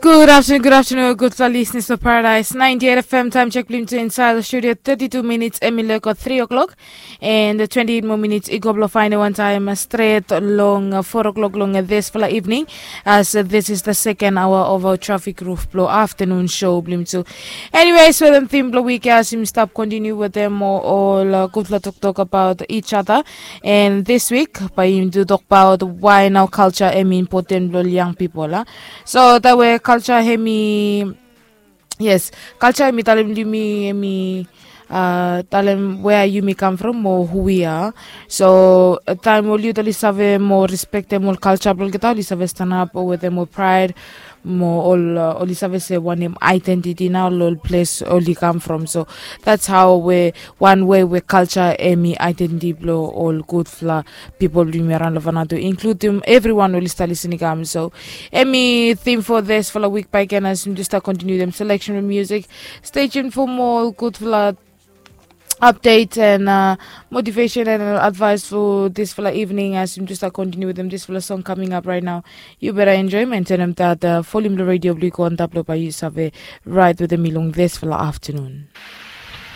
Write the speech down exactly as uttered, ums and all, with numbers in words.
Good afternoon, good afternoon, gudfala listeners of Paradise ninety-eight F M. Time check blong yumi tu inside the studio, thirty-two minutes, em i leko three o'clock, and twenty-eight more minutes i go blong faenem wan taem stret long four o'clock long disfala evening, as this is the second hour of our traffic roof blong afternoon show blong yumi tu. Anyways, wetem theme blong wik ya, as yumi stap continue wetem ol gudfala toktok about each other. And this week bae yumi tu tokbaot why nao culture em i important blong ol young people a. So that way culture em i, yes, culture em i talem yumi, em i talem where yumi come from o who we are. So taem ol yut oli save mo respektem ol culture blong olgeta, oli save stanap wetem ol pride, mo ol oli save se wanem identity nao long ol ples oli come from. So that's how we, one way we culture em i identity blong ol gudfala people blong yumi araon long Vanuatu, including everyone oli stap listening i kam. So em i theme for disfala wik bae again, as yumi tu stap continue wetem selection of music. Stay tuned for more gudfala update and motivation and advice for disfala evening, as yumi tu stap continue wetem disfala song coming up right now. Yu beta enjoem and tanem that volume blong radio blong yu go antap long bae yu save ride wetem mi long disfala afternoon.